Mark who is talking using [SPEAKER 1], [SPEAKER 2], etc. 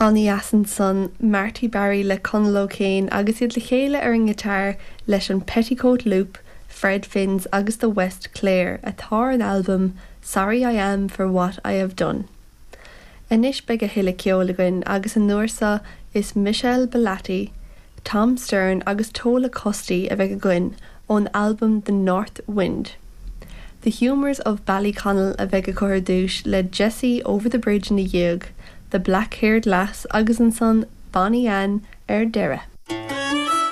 [SPEAKER 1] An-dheas ansan Marty Barry le Conal O'Kane agus iad le chéile ar an ngiotár leis an Petticoat Loop, Fred Finn's agus The West Clare atá ar an albam Sorry I Am For What I Have Done. Anois beidh a thuilleadh ceoil againn agus an uair seo is Michelle Bellati, Tom Stern agus Tola Custy a bheidh againn ón albam The North Wind. The Humours of Ballyconnell a bheidh acu ar dtús le Jessie Over the Bridge ina dhiaidh, The Black Haired Lass agus ansan Bonnie Anne ar deireadh.